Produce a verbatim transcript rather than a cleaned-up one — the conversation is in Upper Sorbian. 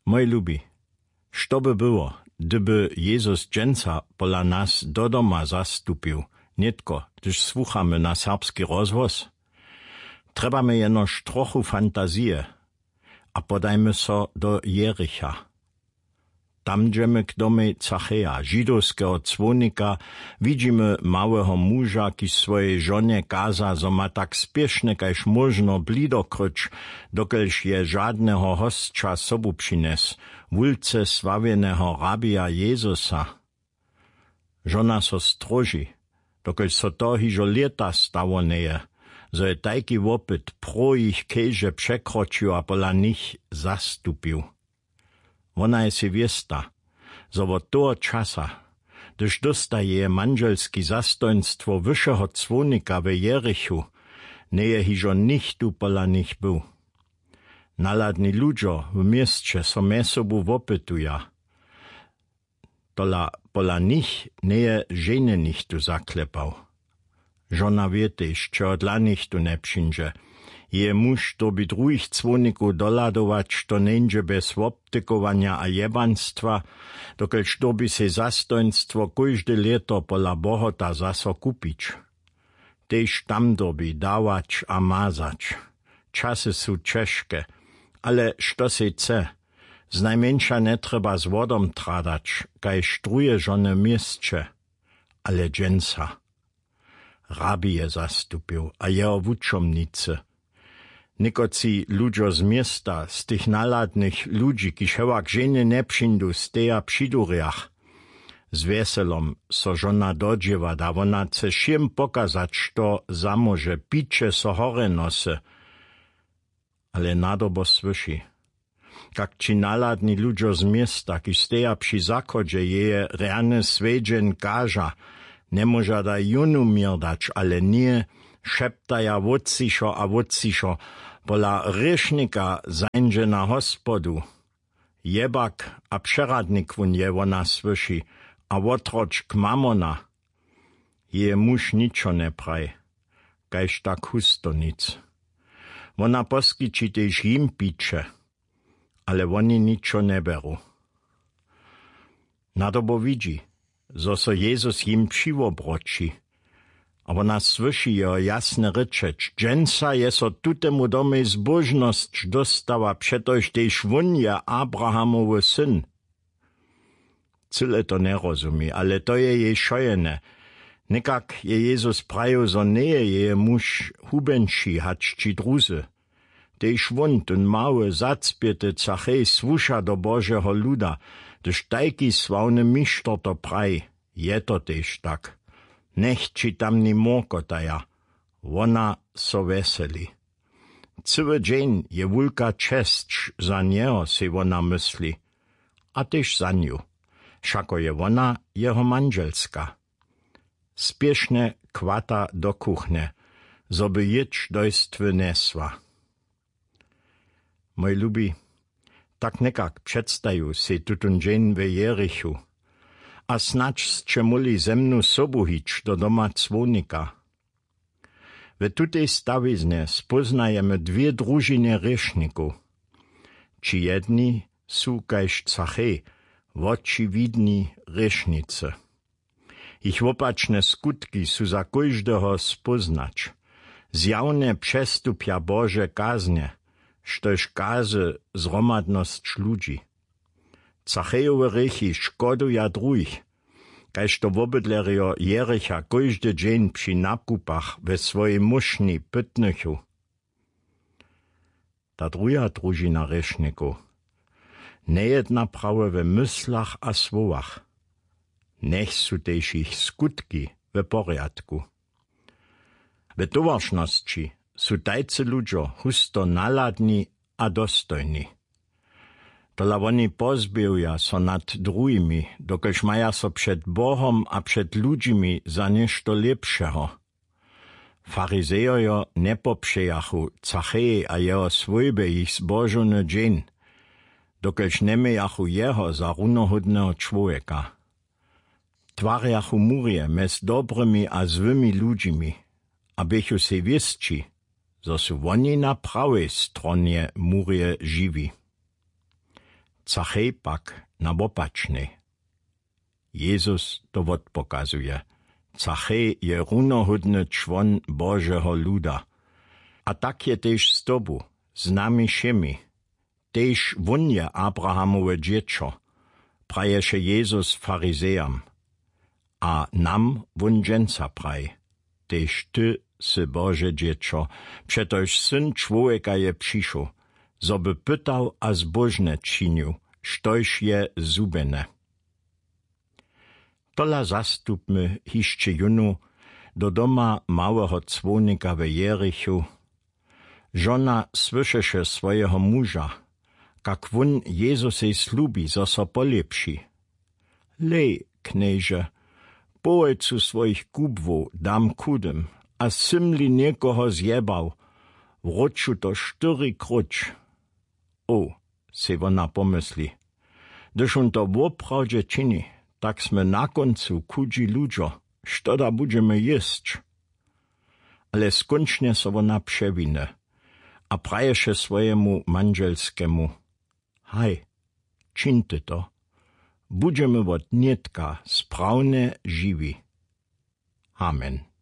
Mój lubi, što by było, hdyby Jezus dźensa pola nas do doma zastupił, nětko hdyž słuchamy na serbski rozhłos? Trjebamy jenož trochu fantazije a podajmy so do Jericha. Tam dźemy k domej Zacheja, židowskeho cłownika. Widźimy małeho muža, kiž swojej žonje kaza, zo ma tak spěšnje kaž móžno blido kryć, dokelž je žadneho hosća sobu přinjes, wulce sławjeneho rabija Jezusa. Žona so stróži, dokelž so to hižo lěta stało njeje, zo je tajki wopyt pro jich keže překročił a pola nich zastupił. Wona je sej wěsta, zo wot toho časa, hdyž dósta jeje mandźelski zastojnstwo wyšeho cłownika we Jerichu, njeje hižo nichtó pola nich był. Nahladni ludźo w měsće so mjez sobu wopytuja, tola pola nich njeje ženje nichtó zaklepał. Žona wě tež, čehodla nichtó njepřińdźe. Jeje muž dyrbi druhich cłownikow dohladować, to njeńdźe bjez wobtykowanja a jebanstwa, dokelž dyrbi sej zastojnstwo kóžde lěto pola bohota zaso kupić. Tež tam dyrbi dawać a mazać. Časy su ćežke, ale što sej chce, znajmjeńša njetrjeba z wodom tradać kaž druhe žony w měsće. Ale dźensa rabi je zastupił a jeho wučomnicy. Někotři ludźo z města, z tych nahladnych ludźi, kiž hewak ženje njepřińdu, steja při durjach. Z wjeselom so žona dodźěła, da wona chce wšěm pokazać, što zamóže, piće so horje nosy. Ale nadobo słyši, kak ći nahladni ludźo z města, kiž steja při zachodźe, jeje rjany swjedźeń kaža, njemóža da jónu měr dać, ale ně, šeptaja wótřišo a wótřišo, pola hrěšnika zańdźe na hospodu. Jebak a přeradnik wón je, wona słyši, a wotročk mamona. Jeje muž ničo njepraji, kaž tak husto nic. Wona poskići tež jim piće, ale woni ničo njeberu. Nadobo widźi, zo so Jezus jim přiwobroći, a wona słyši jeho jasne rěčeć: Dźensa je so tutemu domej zbóžnosć dóstała, přetož tež wón je Abrahamowy syn. Cyle to njerozumi, ale to je jej wšojedne. Někak je Jezus prajił, zo njeje jeje muž hubjeńši hač ći druzy. Tež wón, tón mały zacpěty Zachej, słuša do Božeho luda. Hdyž tajki sławny mišter to praji, je to tež tak. Njech ći tamni mórkotaja, wona so wjeseli. Cyły dźeń je wulka česć za njeho, sej wona mysli, a tež za nju, wšako je wona jeho mandźelska. Spěšnje chwata do kuchnje, zo by jědź do jstwy njesła. Mój lubi, tak někak předstaju sej tutón dźeń we Jerichu. A snadź sće móhli ze mnu sobu hić do doma cłownika. W tutej stawiznje spóznajemy dwě družinje hrěšnikow. Ći jedni su kaž Zachej wočiwidni hrěšnicy. Jich wopačne skutki su za kóždeho spóznać. Zjawnje přestupja Bože kaznje, štož kazy zhromadnosć ludźi. Zachejowe hrěchi škoduja druhich, kaž to wobydlerjo Jericha kóždy dźeń při nakupach we swojej móšnji pytnychu. Ta druha družina hrěšnikow njejedna prawje we myslach a słowach. Njech su tež jich skutki we porjadku. We towaršnosći su tajcy ludźo husto nahladni a dostojni. Tola woni pozběhuja so nad druhimi, dokelž maja so před Bohom a před ludźimi za něšto lěpšeho. Farizejojo njepopřejachu Zachejej a jeho swójbje jich zbožowny dźeń, dokelž njemějachu jeho za runohódneho čłowjeka. Twarjachu murje mjez dobrymi a złymi ludźimi a běchu sej wěsći, zo su woni na prawej stronje murje žiwi. Zachej pak na wopačnej. Jezus to wotpokazuje. Zachej je runohódny čłon Božeho luda. A tak je tež z tobu, z nami wšěmi. Tež wón je Abrahamowe dźěćo, praješe Jezus farizejam. A nam wón dźensa praji: Tež ty sy Bože dźěćo, přetož Syn čłowjeka je přišoł, zo by pytał a zbóžne činił, štož je zhubjene. Tola zastupmy hišće jónu do doma małeho cłownika we Jerichu. Žona słyšeše swojeho muža, kak wón Jezusej slubi, zo so polěpši: Lej, Knježe, połojcu swojich kubłow dam chudym, a sym-li někoho zjebał, wróću to štyri króć. O, sej wona pomysli, hdyž wón to woprawdźe čini, tak smy na kóncu chudźi ludźo, što da budźemy jěsć? Ale skónčnje so wona přewiny a praješe swojemu mandźelskemu: Haj, čińte to, budźemy wot nětka sprawnje žiwi. Amen.